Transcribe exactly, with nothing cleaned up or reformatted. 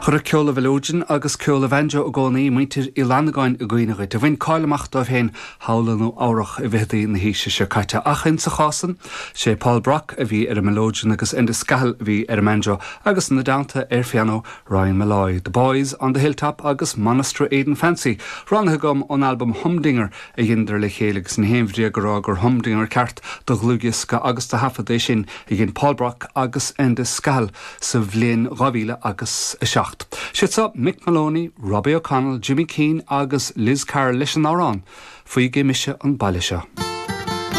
Chuirfeadh ceol an mhileoidin agus ceol an bhanjo i gcónaí muintir Uí Fhlannagáin i gcuimhne dhuit, a bhain cáil amach dóibh féin thall i Nua Eabhrac i bhfichidí na haoise seo caite ach insa chás san, sé Paul Brock a bhí ar an mileoidean agus Enda Scahill a bhí ar an mbanjo agus ina dteannta ar phianó Ryan Molloy, The Boys on the Hilltop agus Monasteraden Fancy. Roghnaithe agam ón albam Humdinger a dheineadar le chéile agus ní haon bhréag a rá gur Humdinger ceart do dhlúthdhiosca agus do thaifead é sin a dhein Paul Brock agus Enda Scahill sa bhliain dhá mhíle agus a seacht. Siad seo Mick Moloney, Robbie O'Connell, Jimmy Keane agus Liz Carroll leis an amhrán, Fágfaidh mise an baile seo.